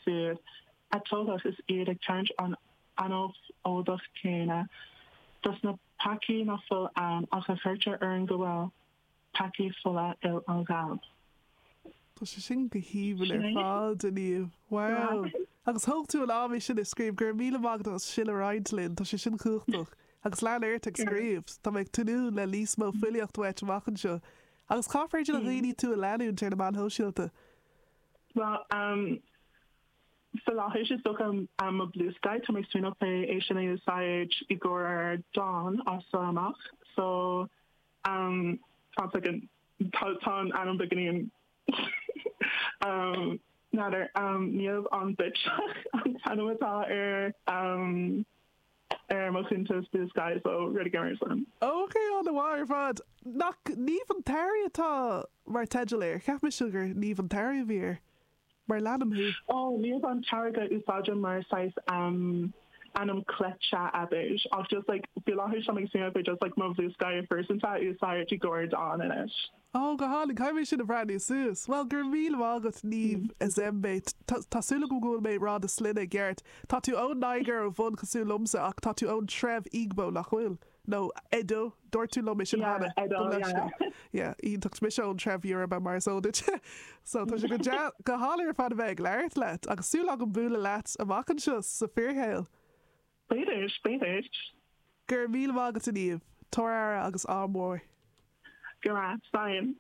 siúd a tógadh is iad ag tarraingt an anáil fholmhach chéanna, dos na peacaí ná fuil ann ach a chuirtear orainn go bhfuil, peacaí fola fhuil an ghailb. Tá sé sin go haoibhinn ar fad, a Niamh. Wow! Agus thóg tú an am é sin a scríobh. Go raibh míle maith agat as sin a roinnt linn. Tá sé sin cumhachtach. Agus lean ort ag scríobh. Tá mé ag tnúth le níos mó filíocht uait amach anseo. Agus cá féidir le dhaoine tú a leanúint ar na meáin shóisialta? Bhuel, um, faoi láthair is dócha um, mo Bluesky, tá mé ag smaoineamh fé é sin a úsáid i gcomhair dán as seo amach. So, um, tá second, tá, tá an ainm beagáinín um, n'fheadar, um, Niamh an Bitseach an t-ainm atá ar um, ar mo chuntas Bluesky so rud éigin mar sin. Ok, an-mhaith ar fad. Nach Niamh an tSamhraidh atá mar teideal air? Cheap mise gur Niamh an tSamhraidh a bhí air. Mar leanaim thú. Ó, Niamh an tSamhraidh a úsáidim mar saghas ainm cleite abair. Ach just like faoi láthair tá mé ag smaoineamh faoi just like mo Bluesky phearsanta a úsáid i gcomhair dán anois. Ó, go hálainn. Caithfidh mé sin a bhreathnú suas. Bhuel, go raibh míle maith agat, Niamh Ezembe. Tá súil agam go bhfuil mé ag rá do shloinne i gceart. Tá tú ón Nigéir ó bhun cosúil liomsa ach tá tú ón treibh Igbo, nach bhfuil? Nó Edo, dúirt tú liom é sin cheana. Yeah, Edo, yeah. Yeah, iontach. Mise ón treibh Yoruba mar is eol duit. So tá sé go dea, go hálainn ar fad a bheith ag labhairt leat agus súil agam bualadh leat amach anseo sa fíorshaol. B'fhéidir, b'fhéidir. Go raibh míle maith agat a Niamh. Tabhair aire agus ádh mór. Go raibh, slán.